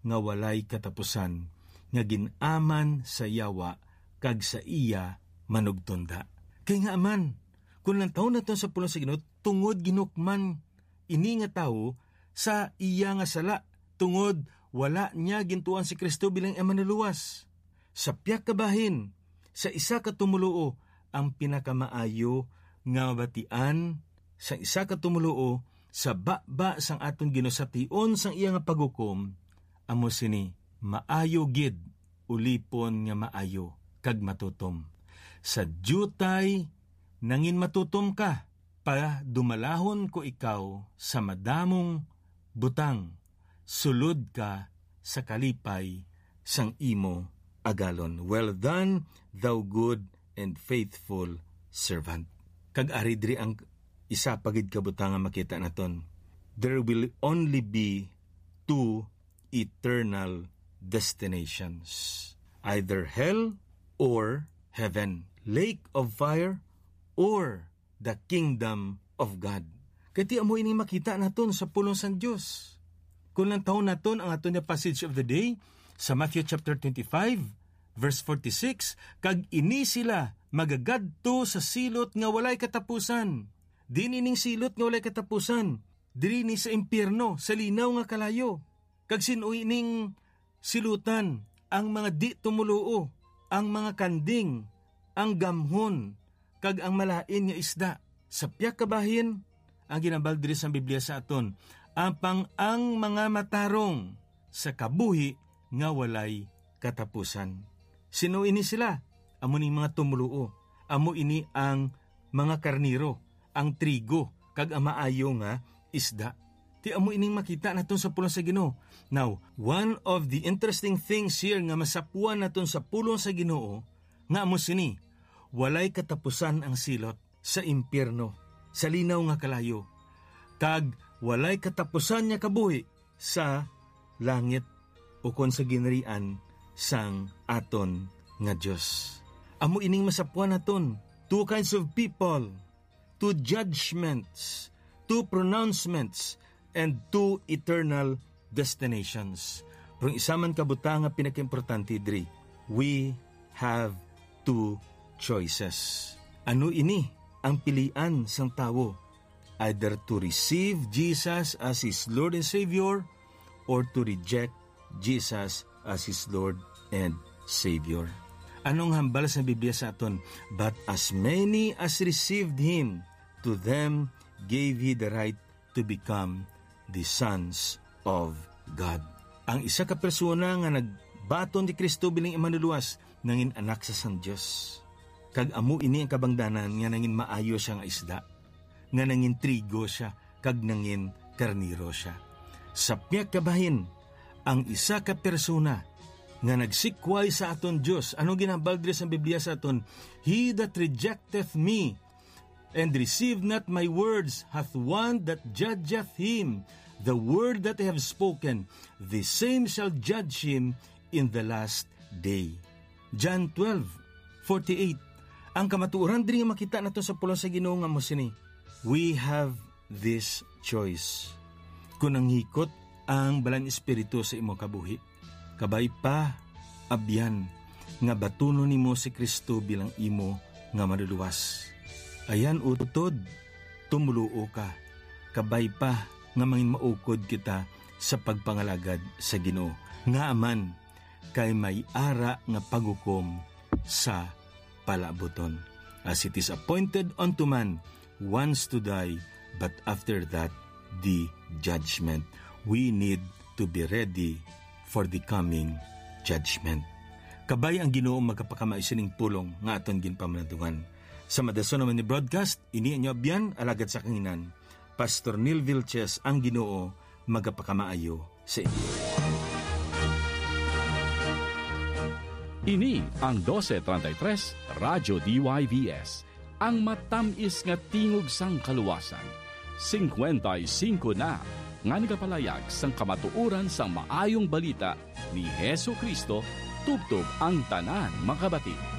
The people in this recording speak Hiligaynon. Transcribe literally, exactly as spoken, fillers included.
nga walay katapusan, nga gin-aman sa Yawa kag sa iya manugtonda. Kay ngaa man, kung lantawon naton sa pulong sa Ginoo, tungod ginhukman ini nga tawo sa iya nga sala, tungod wala niya gintuan si Cristo bilang iya manlulowas. Sa pihak ka bahin, sa isa ka tumoluo, ang pinakamaayo nga mabatian sang isa ka tumoluo sa baba sang aton ginusation sang iya nga paghukom amo sini: maayo gid, ulipon nga maayo kag matutom. Sa diutay nangin matutom ka, padumalahon ko ikaw sa madamong butang, sulod ka sa kalipay sang imo agalon. Well done, thou good and faithful servant. Kag ari diri ang isa pa gid ka butang nga makita naton. There will only be two eternal destinations, either hell or heaven, lake of fire or the kingdom of God. Kay ti amo ini makita naton sa pulong sang Dios. Kung lantawon naton ang aton nga passage of the day sa Matthew chapter twenty-five, verse forty-six, "Kag ini sila magagadto sa silot nga walay katapusan." Diin ining silot nga walay katapusan? Diri ni sa impyerno, sa linaw nga kalayo. Kag sin-o ining silutan? Ang mga di-tumoluo, ang mga kanding, ang gamhon, kag ang malain nga isda. Sa pihak ka bahin, ang ginhambal diri sang Biblia sa aton, apang ang mga matarong sa kabuhi nga walay katapusan. Sin-o ini sila? Amo ning mga tumoluo. Amo ini ang mga karnero, ang trigo, kag ang maayo nga isda. Ti amo ining makita naton sa pulong sa Ginoo. Now, one of the interesting things here nga masapuan naton sa pulong sa Ginoo, nga amo sini: walay katapusan ang silot sa impyerno, sa linaw nga kalayo, kag walay katapusan nga kabuhi sa langit, ukon sa ginharian sang aton nga Dios. Amo ining masapuan naton: two kinds of people, two judgments, two pronouncements, and two eternal destinations. Pero ang isa man ka butang nga pinakaimportante diri, we have two choices. Ano ini ang pilian sang tawo? Either to receive Jesus as his Lord and Savior or to reject Jesus as his Lord and Savior. Anong hambal sa Biblia sa aton? "But as many as received him, to them gave he the right to become the sons of God." Ang isa ka persona nga nagbaton ni Cristo bilang Imanuluwas nangin anak sa sang Dios. Kag amo ini ang kabangdanan nga nangin maayo siya nga isda, nga nangin trigo siya, kag nangin karnero siya. Sa pihak ka bahin, ang isa ka persona nga nagsikway sa aton Dios. Ano ginhambal diri sa Biblia sa aton? "He that rejecteth me and receive not my words hath one that judgeth him. The word that I have spoken, the same shall judge him in the last day." John twelve forty-eight. Ang kamatuoran diri nga makita nato sa pulong sa Ginoo nga mo sini: "We have this choice." Kung nanghikot ang Balaan Espiritu sa imo kabuhi, kabay pa, abyan, nga batunon nimo si Cristo bilang imo nga Manluluwas. Ayan, utod, tumoluo ka. Kabay pa nga mangin maukod kita sa pagpangalagad sa Ginoo. Ngaa man, kay may ara nga paghukom sa palaabuton. As it is appointed unto man once to die, but after that, the judgment. We need to be ready for the coming judgment. Kabay ang Ginoo magapakamayo sining pulong nga aton ginpamanadungan. Sa madason naman ni broadcast, ini inyo abyan, alagad sa kanginan, Pastor Neil Vilches, ang Ginoo magapakamaayo sa inyo. Ini ang doce treinta y tres Radyo D Y V S, ang matamis nga tingog sang kaluwasan. Singkwenta y singko na nga nagapalayag sang kamatuoran sang Maayong Balita ni Jesu-Cristo, tubtob ang tanan makabati.